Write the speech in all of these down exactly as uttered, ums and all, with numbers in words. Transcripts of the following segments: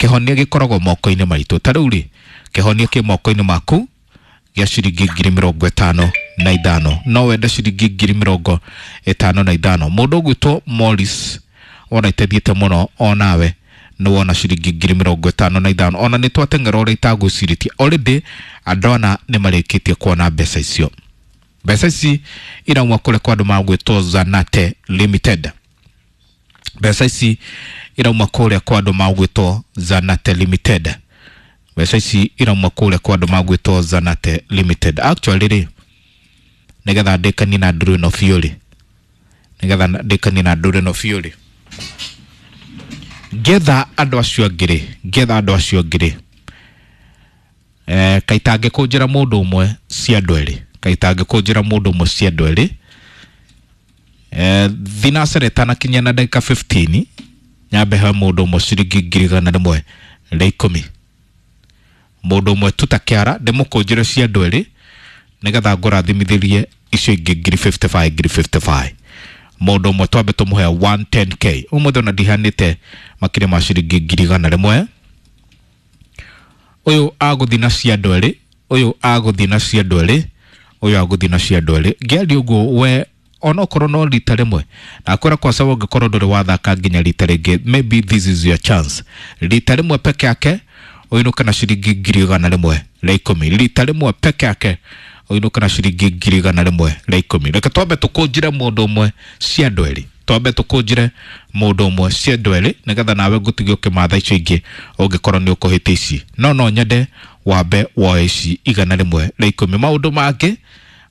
Kĩhonia gĩkoragwo moko-inĩ maitũ. Ta rĩu rĩ, kĩhonia kĩ moko-inĩ maku gĩa ciringi ngiri mĩrongo ĩtano na ithano. No wende ciringi ngiri mĩrongo ĩtano na ithano. Mũndũ ũgwĩtwo Morris ona iteithiĩte mũno, onawe nĩ wona ciringi ngiri mĩrongo ĩtano na ithano. Ona nĩ twateng'era ũrĩa itagwĩcirĩtie, already andũ ana nĩ marĩkĩtie kuona mbeca icio. Mbeca ici irauma kũrĩa kwa andũ magwĩtwo Zanate Limited. Mbeca ici irauma kũrĩa kwa andũ magwĩtwo Zanate Limited. Mbeca ici irauma kũrĩa kwa andũ magwĩtwo Zanate Limited. Actually rĩ, nĩgetha ndĩkanie na ndũrũ ĩno biũ rĩ, nĩgetha ndĩkanie na ndũrũ ĩno biũ rĩ, ngetha andũ acio angĩ rĩ, ngetha andũ acio angĩ rĩ, eh, kaitangĩkũnjĩra mũndũ ũmwe cia andũ erĩ, kaitangĩkũnjĩra mũndũ ũmwe cia andũ erĩ, eh, thinacere ĩtanakinyia na ndagĩka fifteen, nyambe he mũndũ ũmwe ciringi ngiri igana rĩmwe rĩa ikũmi. Mũndũ ũmwe tu ta kĩara ndĩmũkũnjĩre cia andũ erĩ nĩgetha ngũrathimithĩrie icio ingĩ ngiri fifty five, ngiri fifty five. Mũndũ ũmwe twambe tũmũhe one ten K. Ũmũthĩ ona ndihanĩte makĩria ma ciringi ngiri igana rĩmwe. Ũyũ agũthiĩ na cia andũ erĩ, ũyũ agũthiĩ na cia andũ erĩ, ũyũ agũthiĩ na cia andũ erĩ. Ngĩaria ũguo we onokorwo no rita rĩmwe, nakwĩra kwa sababu ũngĩkorwo ndũrĩ wathaka nginya rita rĩngĩ, maybe this is your chance. Rita rĩmwe peke yake ũinũke na ciringi ngiri igana rĩmwe rĩa ikũmi. Rita rĩmwe peke yake ũinũke na ciringi ngiri igana rĩmwe rĩa ikũmi. Reke twambe tũkũnjĩre mũndũ ũmwe cia andũ erĩ, twambe tũkũnjĩre mũndũ ũmwe cia andũ erĩ nĩgetha nawe ngũtige ũkĩmatha icio ingĩ ũngĩkorwo nĩ ũkũhĩte ici. No no nyende wambe woe ici igana rĩmwe rĩa ikũmi. Maũndũ mangĩ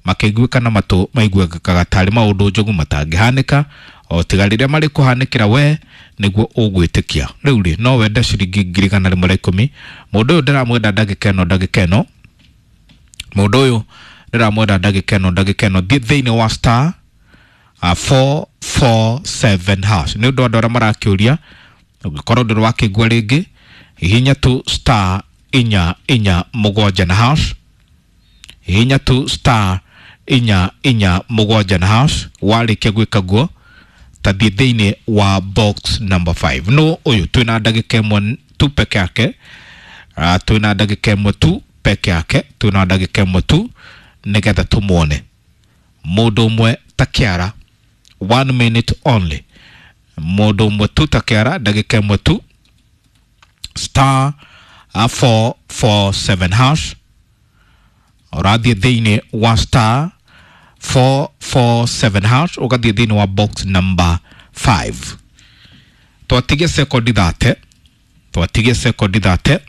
makĩiguĩka na matũ maiguĩkaga tarĩ maũndũ njogu matangĩhanĩka, o tiga rĩrĩa marĩ kũhanĩkĩra we nĩguo ũgwĩtĩkia. Rĩu rĩ, no wende ciringi ngiri igana rĩmwe rĩa ikũmi. Mũndũ ũyũ ndĩramwenda ndagĩka ĩno, ndagĩka ĩno. Mũndũ ũyũ ndĩramwenda ndagĩka ĩno, ndagĩka ĩno. Thiĩ thĩinĩ wa star, uh, four four seven hash. Nĩ ũndũ andũ arĩa marakĩũria, ũngĩkorwo ndũrĩ wakĩigua rĩngĩ, hihinya tu star inya inya mũgwanja na hash. Hihinya tu star inya inya mũgwanja na hash. Warĩkia gwĩka guo, ta thiĩ thĩinĩ wa box number five. No ũyũ twĩna ndagĩka ĩmwe tu peke yake. Uh, twĩna ndagĩka ĩmwe tu peke yake, twĩna ndagĩka ĩmwe tu nĩgetha tũmuone mũndũ ũmwe ta kĩara, one minute only. Mũndũ ũmwe tu ta kĩara, ndagĩka ĩmwe tu, star, uh, four four seven hash. Ũrathiĩ thĩinĩ wa star four four seven hash, ũgathiĩ thĩinĩ wa box number five. Twatigia sekondi thate, twatigia sekondi thate,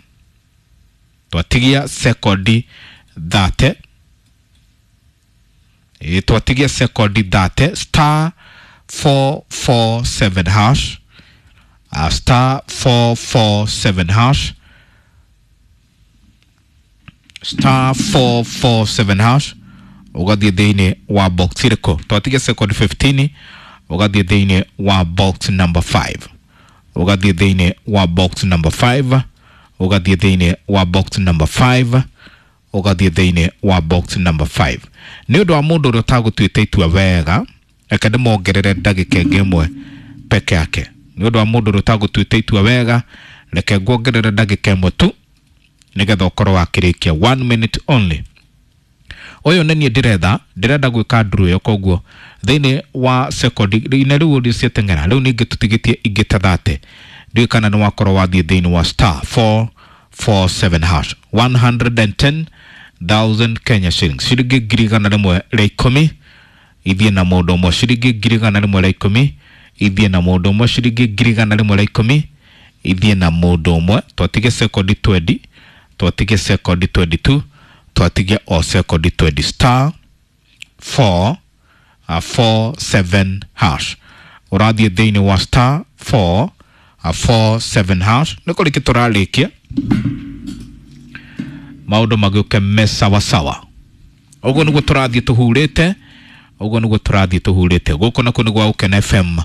twatigia sekondi thate, ĩ, twatigia sekondi thate, star four four seven hash, uh, star four four seven hash, star four four seven hash, ũgathiĩ thĩinĩ wa box ĩrĩkũ? Twatigia sekondi fifteen, ũgathiĩ thĩinĩ wa box number five, ũgathiĩ thĩinĩ wa box number five, ũgathiĩ thĩinĩ wa box number five, ũgathiĩ thĩinĩ wa box number five. Nĩ ũndũ wa mũndũ ũrĩa ũtagũtuĩte itua wega, reke ndĩmongerere ndagĩka ĩngĩ ĩmwe peke yake. Nĩ ũndũ wa mũndũ ũrĩa ũtagũtuĩte itua wega, reke nguongerere ndagĩka ĩmwe tu nĩgetha ũkorwo wakĩrĩkia, one minute only. Ũyũ nĩ niĩ ndĩretha, ndĩrenda gwĩka nduru ĩyo, koguo thĩinĩ wa sekondi ine rĩu ũrĩa ciateng'era, rĩu ningĩ tũtigĩtie ingĩ ta thate. Ndiũĩ kana nĩ wakorwo wathiĩ thĩinĩ wa star four four seven hash, one hundred and ten thousand Kenya shillings, ciringi ngiri igana rĩmwe rĩa ikũmi ithiĩ na mũndũ ũmwe, ciringi ngiri igana rĩmwe rĩa ikũmi ithiĩ na mũndũ ũmwe, ciringi ngiri igana rĩmwe rĩa ikũmi ithiĩ na mũndũ ũmwe. Twatige sekondi twenty, twatige sekondi twenty two, twatige o sekondi twenty, star four, uh, four seven hash. Ũrathiĩ thĩinĩ wa star four, uh, four seven hash. Nĩ kũrĩkia tũrarĩkia maũndũ magĩũke me sawasawa. Ũguo nĩguo tũrathiĩ tũhurĩte, ũguo nĩguo tũrathiĩ tũhurĩte. Gũkũ nakuo nĩ gwa Gũkena F M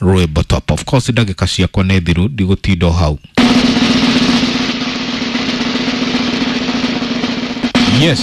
Rwĩmbo Top. Of course ndagĩka ciakwa nĩ thiru, ndigũtinda o hau. Yes.